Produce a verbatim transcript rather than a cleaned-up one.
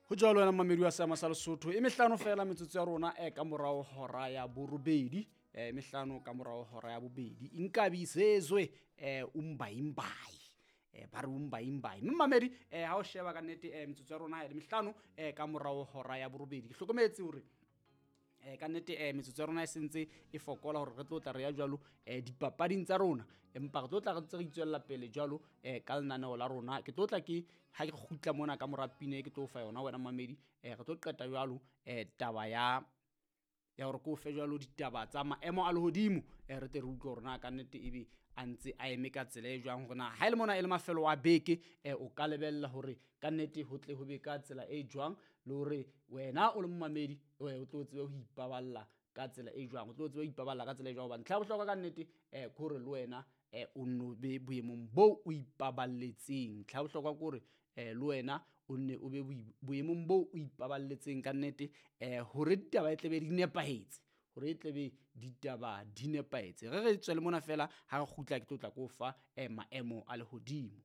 Ho jwalo wena mamedi wa seama sa Lesotho, e mehlano fela metsotso ya rona e ka morao hora ya borobedi, e mehlano ka morao hora ya bobedi. Inkabi Sezwe eh umbayimbayi, eh ba re umbayimbayi. Mme mamedi eh ha o sheba ka nnete eh metsotso ya rona e mehlano eh ka morao hora ya borobedi. Ke hlokometse hore eh ka nnete eh metsotso ya rona e sentse e fokola hore re tlo tla re ya jwalo eh dipapading tsa rona, empa re tlo tla re ntse re itswella pele jwalo eh ka lenaneo la rona. Ke tlo tla ke ha ke kgutla mona ka mora pina e ke tlo fa yona wena mamedi, eh re tlo qeta jwalo eh taba ya ya hore ke o fe jwalo ditaba tsa maemo a lehodimo, eh re tle re utlwe hore na ka nnete ebe a ntse a eme ka tsela e jwang, hore na ha e le mona e le mafelo a beke eh o ka lebella hore ka nnete ho tle ho be ka tsela e jwang, le hore wena o le momamedi o tlo tsebe ho ipaballa ka tsela e jwang, o tlo tsebe ho ipaballa ka tsela e jwang. Hobane ntlha ya bohlokwa ka nnete eh ke hore le wena eh o nno be boemong boo o ipaballetseng. Ntlha ya bohlokwa ke hore eh le wena o nne o be boemong boo o ipaballetseng ka nnete, eh hore ditaba e tle be di nepahetse, hore e tle be ditaba di nepahetse. Re re tswele mona fela, ha re kgutla ke tlo tla ko fa eh maemo a lehodimo.